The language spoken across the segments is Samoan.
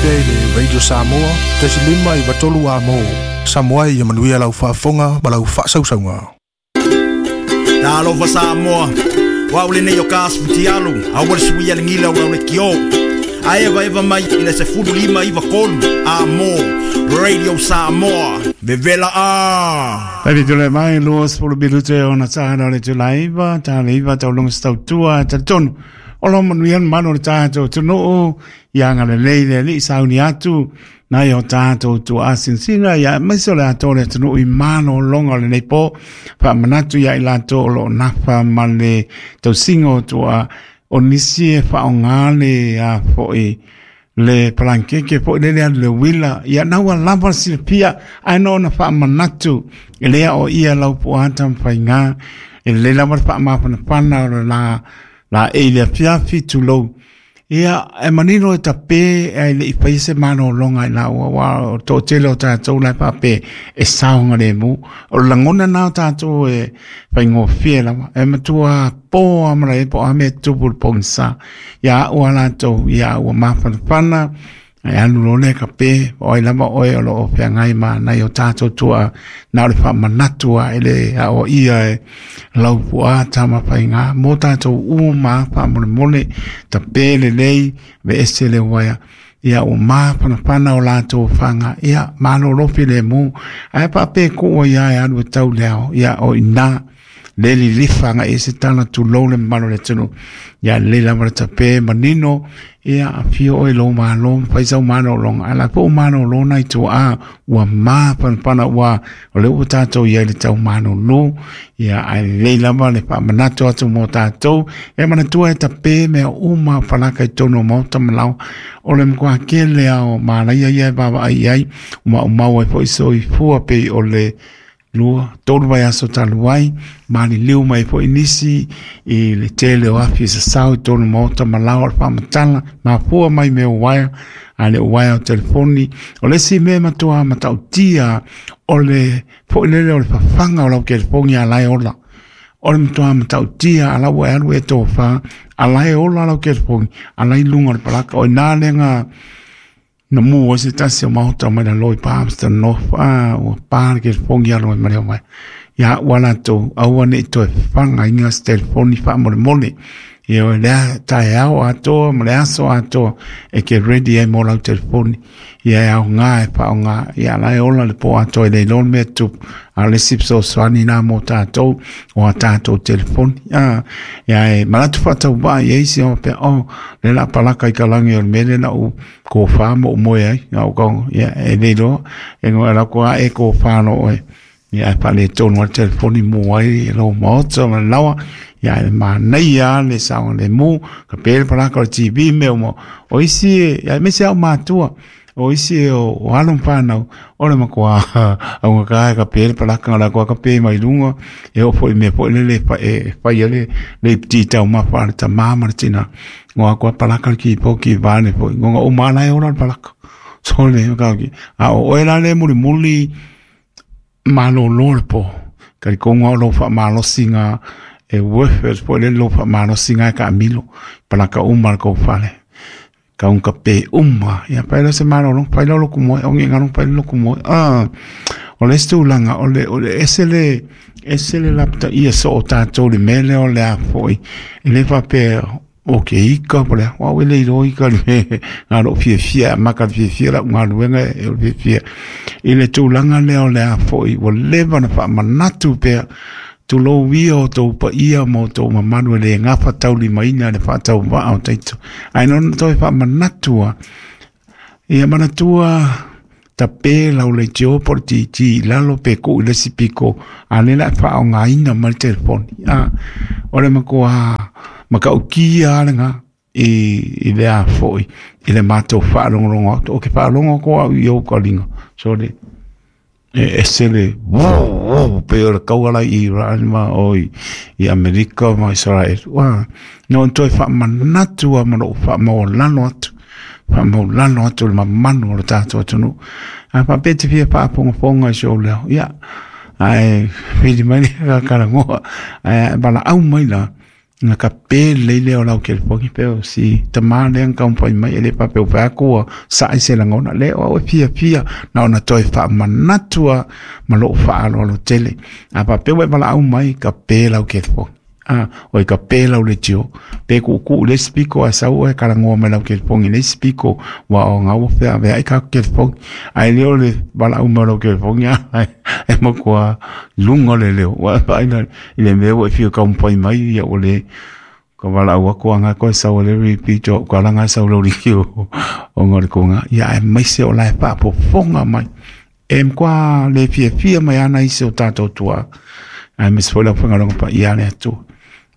pea i le Radio Samoa, 1.5 93 Amo. Samoa ia manuia lau faafofoga ma lau faasausauga. Talofa Samoa, o au lenei o ka Futialu, aua le suia le gila o lau le kio. Ae eva mai i le 15 93 Amo, Radio Samoa, vevela a. Taimi tule mai 20 minute ona taha o le tulaiva, taha le iva taulunga se tautua talitonu. O lo manuia le manu o le tatou atunuu, ia agalelei le Alii sauni atu, nai o tatou tuaa sinasina, ia aemaise o le atoa o le atunuu i malologa o lenei po. Faamanatu ia i latou o lo o nafa ma le tausiga o tuaa, o nisi e faaaoga le a foi le palankeke foi lele alu le uila, ia na ua lava le silafia, ae no ona faamanatu e le ao ia lau puata ma faiga e lelei lava le faamafanafana o le la la e i le afiafi tulou. Ia, e manino e tape ai le i fai se malologa i lau aua o toatele o tatou la e faapea e saogalemu. O le lagona na o tatou e faigofie lava. E matua po a mala e po a mea tupu le pogisa. Ia au a latou, ia ua mafanafana, e alu loa lea kape, o ai lava oe o lo o feagai ma nai o tatou tuaa, na o le faamanatu a e le aoaia e lau puaa tamafaiga mo tatou uma faamolemole, tape lelei, aveese le uaea. Ia ua mafanafana o latou faga, ia malolo filemu, ae faapea kuu ai e alu e tau le ao, ia o ina le lilifa agai i se tala tulou le mamalu o le atunuu. Ia lelei lava le tape manino, ia afio oe i lou malo ma fai sau malologa, ae la foi ua malolo nai tuaa ua mafanafana ua o lea ua tatou i ai i le tau malolo. Ia ae lelei lava le faamanatu atu mo tatou. E manatua e tape mea uma palaka i totonu o maota ma laoa. O le matua tele lava o malaia ia e vaavaai i ai, ua maumau ai foi soifua pei o le 2, 3 vaiaso talu ai, maliliu mai foi nisi i le tele o afi e sasao i totonu o maota ma laoa o le faamatala, mafua mai mea o uaea, a le uaea o telefoni. O le isi mea matua matautia o le foi lele o le fafaga o lau telefoni a la e ola. O le matua matautia a la ua e alu e tofa, a la e ola lau telefoni, a la i luga o le palaka. O i nā lea na mu ai se tasi o maota mai lalo i Palmerston North, a ua pa le telefoni alu ai ma le omai. Ia ua latou, aua ne i toe fafagaina se telefoni faamolemole. Ia o lea taeao atoa ma le aso atoa e ke ready ai mo lau telefoni. Ia e aoga e faaaoga, ia la e ola le po atoa e le iloa le mea e tupu. A o le isi fesoasoani na mo tatou o a tatou telefoni. A, ia e manatu faatauvaa i ai isi o faapea, oh, le la palaka i ka lagi o le mea lea na ou kofa ma ou moe ai. A o kau, ia e le iloa, e ngoe ala ko a e kofa no oe. Ia e faaletonu ai le telefoni mu ai i lou maota ma le laoa. Ia e manaia lava le saogalemu, ka pe le palaka o le TV mea uma. O isi, ia aemaise lava o matua, o isi o alo ma fanau, o le matua augata e kape le palaka o le atoa kape mai luga, e oo foi i mea foi lele e fai ai le iputi taumafa a le tamā ma le tinā. Ngoa atu a palaka le keyboard vaeane foi, ngoga uma lava la e ola le palaka. Sole, a o oe la le mulimuli malolo le po. Talitonu lava o lou faamalosiga e worth it foi lele lou faamalosiga e taamilo. Palaka uma le tou fale. Kau kape uma. Ia fai loa se malologa, fai loa loku moe, o ni fai loku moe. Ah, o le isi tulaga, o le ese le lapataia so o tatou le mea lea o le a foi. E le faapea o ke ika po le a, o au e le iloa ika le mea na lou fiafia, amata le fiafia lau galuega e o le fiafia. I le tulaga lea o le a foi, ua leva ona faamanatu pea, tulou ia o tou paia ma o tou mamalu e le gafataulimaina le faatauvaa o taito. Ae na toe faamanatu lava, ia manatua tape lau leitio po o le TT i lalo pe tuu i le isi pito, a o lea o le a faaaogaina mai le telefoni. A, o le matua matautia lava lena i le a foi, i le matou faalogologo atu. Ou te faalogo atu au i ou taliga, sole, e ese le pei o le taua la i Iran ma o i Amerika ma Israel. Ua, na ona toe faamanatu lava ma lou faamaualalo atu, faamaualalo atu le mamalu o le tatou atunuu. A faapea e te fia faafogafoga i si ou leo, ia, ae vili mai le talanoa, ae valaau mai la. Na ka pe lelei lea o lau telefoni pe o si tamā lea na taumafai mai e le faapea ua fai atu ua sa'i se lagona lea o au e fiafia na ona toe faamanatu lava ma lo'u faaaloalo tele. A faapea ua e valaau mai ka pe lau telefoni a oi ka pe lau leitio pe ku'uku'u i le isi piko ae sau oe talanoa mai lau telefoni i le isi piko ua o na ua feavea'i tatou telefoni ae le o le valaau mai o lau telefoni a e matua luga le leo ua e vaai la i le mea ua e fia taumafai mai ia ua le ka valaau atu aga koe sau le repeat o kalaga sau lau leitio ona o le toga ia aemaise o la e faafofoga mai e matua le fiafia mai ana isi o tatou tuaa aemaise foi le aufaigaluega paia a le Atua.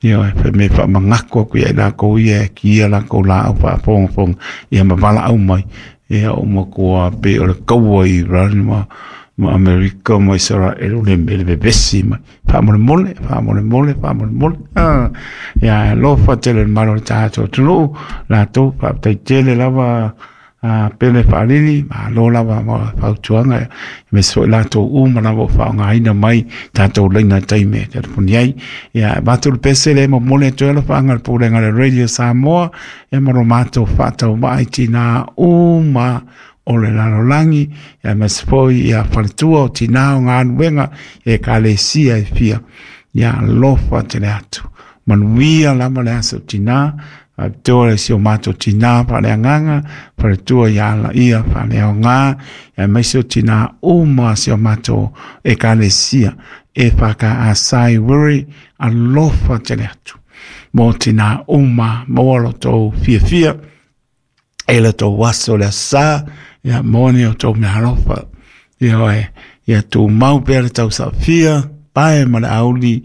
Ioe, fai mai faamanatu atu ia i latou ia e ki ia latou laau faafogafoga ia ma valaau mai, ia ua matua pei o le taua i Iran ma Amerika ma Isaraelu le mea le vevesi mai. Faamolemole, faamolemole, faamolemole. Ia e alofa tele le malo o le tatou atunuu, latou faafetai tele lava a Pele Faalili, malo lava mo le fautuaga, aemaise foi latou uma lava o faaaogaina mai tatou laina taimi e telefoni ai. Ia, e avatu le pese lea e momoli atu ai alofaaga a le Pulega a le Radio Samoa, ia ma lo matou faatauvaa i tinā uma o le lalolagi, aemaise foi ia faletua o tinā o galuega i ekalesia e fia. Ia alofa tele atu. Manuia lava le aso tinā, faapitoa le si o matou tinā faaleagaga, faletua ia Alaia faaleaoga, aemaise o tinā uma si o matou ekalesia e whakaasai wiri alofa tele atu. Mō tinā uma, maua lo tou fiafia, e le tou aso le asa, ia moni o tou mea alofa. Ia oe, ia tumau pea le tausaafia, pae ma le auli,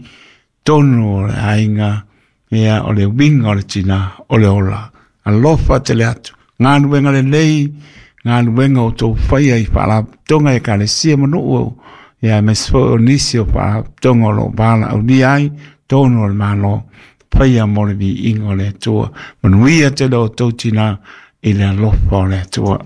tonu o le aiga, ia o le uiga o le tinā, o le ola. Alofa tele atu, galuega lelei, galuega o tou faia i faalapotopotoga i ekalesia ma nuu, ia aemaise foi o nisi o faalapotopotoga o lo o valaaulia ai tonu o le Malo, faia mo le viiga o le Atua. Manuia tele o tou tinā i le alofa o le Atua.